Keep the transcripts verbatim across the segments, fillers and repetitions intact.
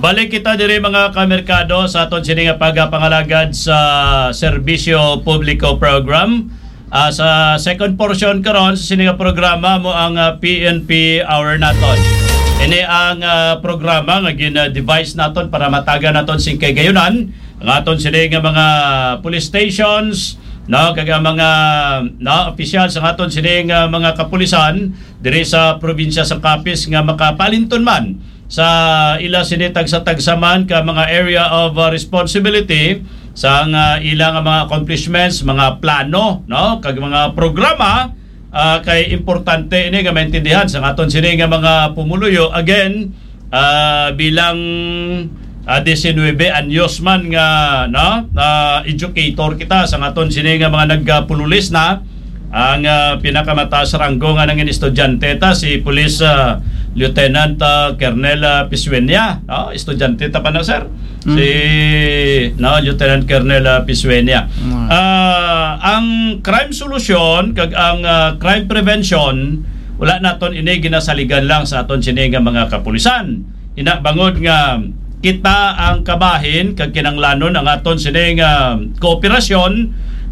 Balik kita diri, mga kamerkado, sa aton sini nga pagpangalagad sa Serbisyo Publiko Program. Ah, sa second portion karon sa sini nga programa mo ang, ah, P N P Hour naton. Ini ang, ah, programa nga gin-devise naton para matagan naton sing kahigayonan ang aton sini nga mga police stations, no, kag ang mga, no, opisyal sa aton sini nga mga kapulisan diri sa probinsya sa Capiz nga makapalinton man sa ila sini tagsa-tagsa man ka mga area of, uh, responsibility sa nga ila nga mga accomplishments, mga plano, no, kag mga programa, ah, kay importante ini nga maintindihan sa aton sini nga mga pumuluyo. Again, ah, bilang, ah, diecinuebe anyos man nga, no, ah, educator kita sa aton sini nga mga nagpululis na, ang, ah, pinakamataas ranggo nga nangin estudyante ta si Police, ah, Lieutenant, ah, Colonel, ah, Pisueña, no? Estudyante ta pa na, sir. Mm. Si, no, Lieutenant Colonel, ah, Pisueña. Mm. Ah, ang crime solution kag ang, ah, crime prevention, wala naton ini ginasaligan lang sa aton sini nga mga kapulisan. Ina bangod nga kita ang kabahin kag kinanglanon ang aton sini nga kooperasyon,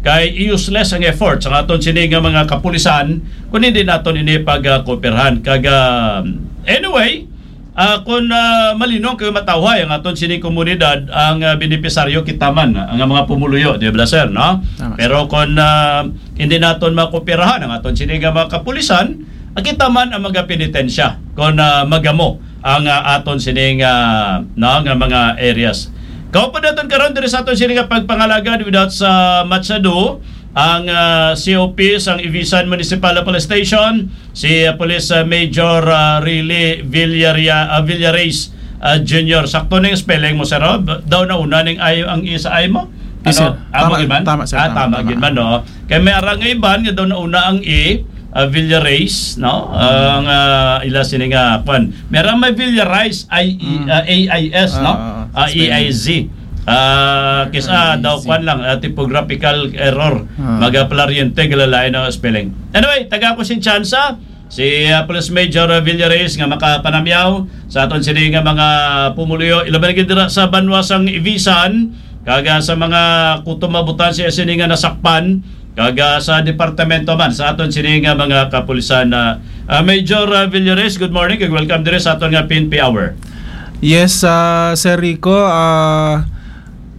kay useless ang effort sa aton sini nga mga kapulisan kung hindi naton ini pag, ah, kooperhan. Kag, ah, anyway, ah, kung, ah, malinong kag matawhay ang aton sini komunidad, ang, ah, benepisaryo kita man, ang mga pumuluyo, di ba, sir, no? Tama. Pero kung, ah, hindi naton makooperahan ang aton sini nga mga kapulisan, ah, kita man ang magapenitensya kung, ah, magamo ang, ah, aton sining, ah, no, nga mga areas. Kaupod naton karon diri sa aton sini nga pagpangalagad without sa much ado ang, ah, C O P sang Ivisan Municipal Police Station, si, ah, Police, ah, Major, ah, Riley Villaria-, ah, Villares, ah, Junior. Sakto ning spelling mo, sir, oh? Daw nauna ning I, ang I sa I mo? Yes, sir. Amo gid man? Tama, sir. Ah, tama, tama gid man, no? Kay may ara nga iban nga daw nauna ang I, ah, Villares, no? Ang, ah, ila sini nga, kwan. May ara may Villarais, I E, Mm. ah, A I S, no? Ah, ah, ah, spelling. A I Z. Ah, kis-, ah, daw I Z. Kwan lang, ah, typographical error. Ah. Magapalaryente, galalain ang spelling. Anyway, taga ko sing tsansa, si, ah, Police Major, ah, Villares nga makapanamyaw sa aton sini nga mga pumuluyo, ilabi na gid dira sa banwa sang Ivisan, kag, ah, sa mga kutob-abutan sa sini nga nasakpan, kag, ah, sa departamento man sa aton sini nga mga kapulisan. Ah, ah, Major, ah, Villares, good morning kag welcome diri sa aton nga P N P Hour. Yes, ah, Sir Rico, ah,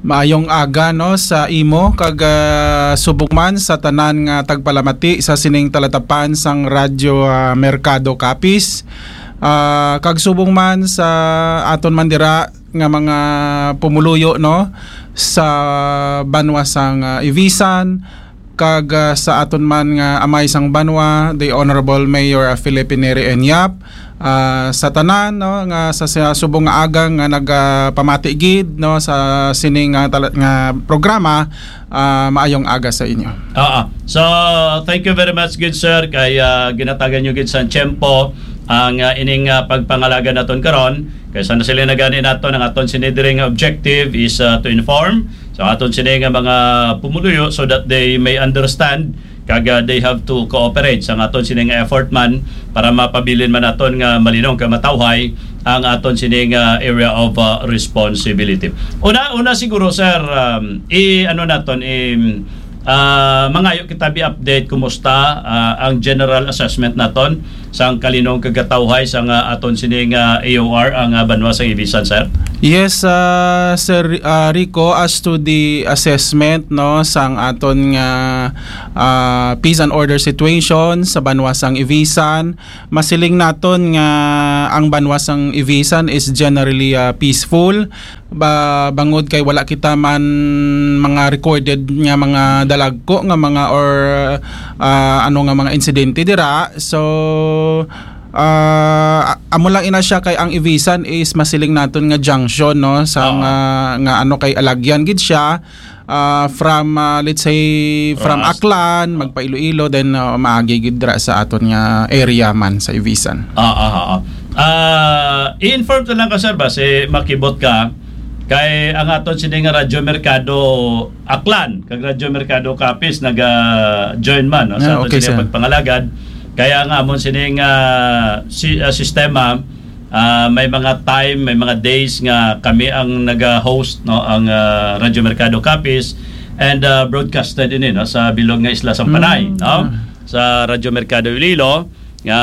maayong aga, no, sa imo kag, ah, subong man sa tanan nga tagpalamati sa sining talatapan sang Radyo, ah, Merkado Capiz. Ah, kag subong man sa aton man dira nga mga pumuluyo, no, sa banwa sang, ah, Ivisan, kag, ah, sa aton man nga amay sang banwa, the Honorable Mayor, ah, Felipe Neri Enyap, ah, sa tanan, no, nga sa, sa subong nga aga nga nagapamati gid, no, sa sining nga tala-, nga programa, ah, maayong aga sa inyo. Oo. So, thank you very much, good sir, kay, ah, ginatagan nyo gid sa tiyempo ang, ah, ining, ah, pagpangalaga naton karon. Kay sa nasiling na gani naton, ang aton sini diri nga objective is, ah, to inform sa aton sini nga mga pumuluyo so that they may understand kag, ah, they have to cooperate sa aton sini nga effort man para mapabilin man naton nga malinong kag matawhay ang aton sini nga area of, ah, responsibility. Una, una siguro, sir, um, i-, ano naton, i-, ah, mangayo kita bi update kumusta, ah, ang general assessment naton sang kalinong kag katawhay sang aton sini nga A O R, ang, ah, banwa sang Ivisan, sir? Yes, ah, Sir, ah, Rico, as to the assessment, no, sang aton nga, ah, peace and order situation sa banwa sang Ivisan, masiling naton nga ang banwa sang Ivisan is generally, ah, peaceful. Ba, bangod kay wala kita man mga recorded nga mga dalagko nga mga or, ah, ano nga mga insidente dira. So, ah, amo lang ina siya kay ang Ivisan is masiling naton nga junction, no, sa Oo. nga, nga ano kay alagyan gid siya, ah, from, ah, let's say, from Ah, s- Aklan, magpa-Iloilo, then, ah, maagi gid dira sa aton nga area man sa Ivisan. Ah, ah, ah, ah. Ah, i-inform ko lang ka, sir, ba, si makibot ka, kay ang aton sini nga Radyo Merkado Aklan, kag Radyo Merkado Capiz, naga-join man, no, sa Ah, aton okay, sini sir. pagpangalagad. Kaya nga, amon sini nga si-, ah, sistema, Ah, may mga time, may mga days nga kami ang naga-host, no, ang, ah, Radyo Merkado Capiz, and, ah, broadcasted ini, no, sa bilog nga isla sang Panay, Mm, no? ah. Sa Radyo Merkado Iloilo, nga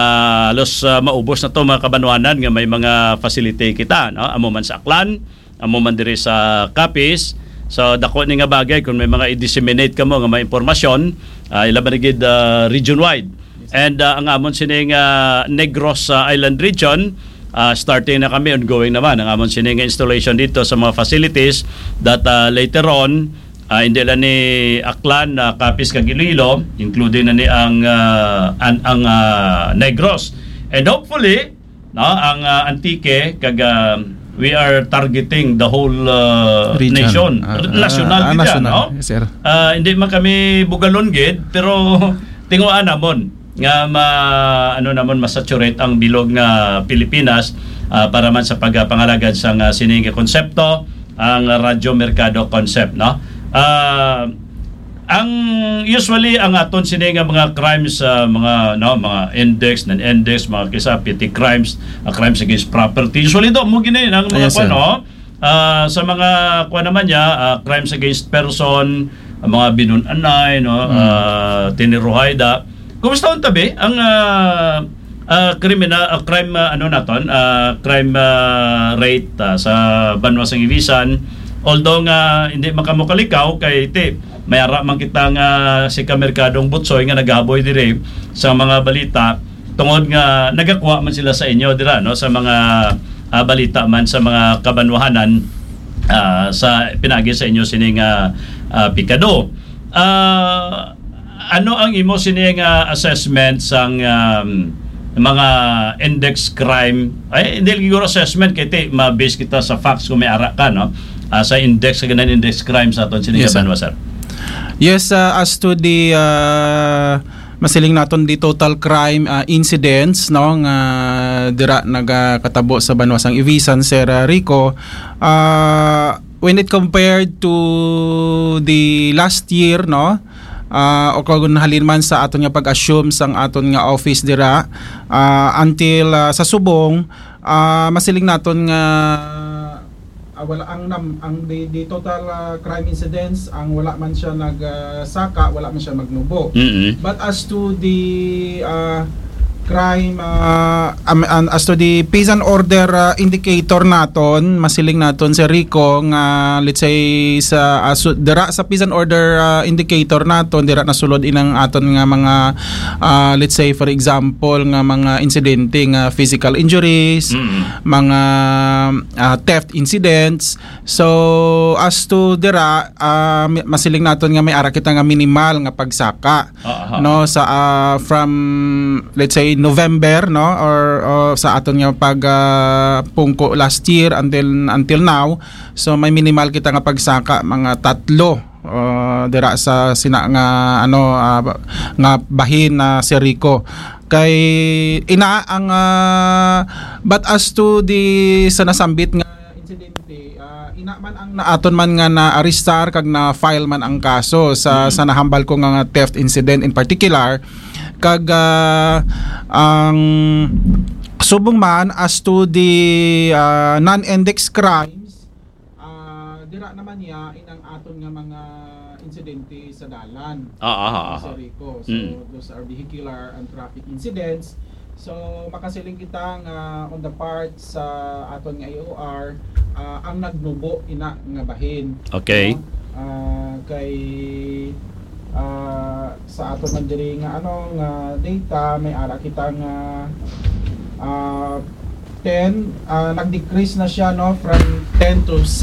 halos, ah, maubos na to, mga kabanwanan, nga may mga facility kita, no? Amo man sa Aklan, amo man diri sa Capiz. So, dako ni nga bagay kung may mga i-disseminate kamo nga mga impormasyon, ah, ilaban na gid, ah, region-wide. And, ah, ang amon sining, ah, Negros, ah, Island Region, ah, starting na kami, ongoing naman ang amon sining installation dito sa mga facilities that, ah, later on, ah, hindi lang ni Aklan, ah, Capiz kag Iloilo, including na ni ang, ah, an-, ang, ah, Negros. And hopefully, no, ang, ah, Antique kag, ah, we are targeting the whole, ah, Region. nation. Ah, National ah, gid yan, national. no? Yes, sir. Ah, hindi man kami bugalon gid, pero tinguhaan namon nga ma-, ano namon, masaturate ang bilog nga Pilipinas, ah, para man sa pagpangalagad sang, ah, sining konsepto, ang Radyo Merkado concept, no? Ah, ang usually ang aton sini nga mga crimes, ah, mga, no, mga index, non-index, mga kisa petty crimes, ah, crimes against property. Usually do mo gini ang Ah, mga yes, sir. kuwan, no? Ah, sa mga kuwan naman niya, ah, crimes against person, ang mga binun-anay, no, Mm. ah, tiniruhay da. Kumusta ang tabi ang, ah, ah, kriminal, ah, crime, ah, ano naton, ah, crime, ah, rate, ah, sa banwa sang Ibisan? Although nga hindi man kamo kalikaw kay ti may ara man kita nga si Kamerkadong Butsoy nga nagahaboy diri sa mga balita tungod nga nagakuha man sila sa inyo dira, no, sa mga, ah, balita man sa mga kabanwahanan, ah, sa pinaagi sa inyo sini nga, ah, pikado. Ah, ano ang imo sini nga assessment sang, um, mga index crime? Ay, hindi lang siguro assessment kay ti ma-base kita sa facts kung may ara ka, no? Ah, sa index, sa ganang index crime sa aton sini Yes, nga sir. banwa, sir. Yes, uh, as to the, uh, masiling naton the total crime, uh, incidents, no, nga dira nagakatabo sa banwa sang Ibisan, Sir, uh, Rico, uh, when it compared to the last year, no, uh, o kung halin man sa aton nga pag-assume sang aton nga office dira, uh, until, uh, sa subong, uh, masiling naton nga ah, wala ang nam-, ang the, the total, ah, crime incidents, ang wala man siya nag, ah, saka, wala man siya magnubo. Mm-mm. But as to the, ah, crime, ah, um, and as to the peace and order, ah, indicator naton, masiling naton, Sir Rico, nga let's say sa, ah, su-, dira sa peace and order, ah, indicator naton, dira nasulod inang aton nga mga, ah, let's say for example nga mga insidente nga physical injuries, Mm. mga, ah, theft incidents. So, as to dira, ah, mi-, masiling naton nga may ara kita nga minimal nga pagsaka, Ah, aha. no, sa, ah, from, let's say, November, no, or, or sa aton nga pag, ah, pungko last year until, until now. So, may minimal kita nga pagsaka, mga tatlo, ah, dira sa sina nga, ano, ah, nga bahin na, Sir Rico. Kay ina ang, ah, but as to the sa nasambit nga insidente, ah, ina man ang naaton man nga na-arrestar kag na-file man ang kaso sa, Mm. sa nahambal ko nga, nga theft incident in particular. Kag, ah, ang subong man as to the, ah, non-index crimes, ah, dira naman niya inang aton nga mga insidente sa dalan. Ah, ah, ah, ah. Sir Rico. So, Mm. those are vehicular and traffic incidents. So, makasiling kita nga on the part sa aton nga A O R, ah, ang nagnubo ina nga bahin. Okay. No? Ah, kay, ah, sa aton man diri nga, ano, nga data, may ara kita nga, ah, ten, ah, nag-decrease na siya, no, from ten to six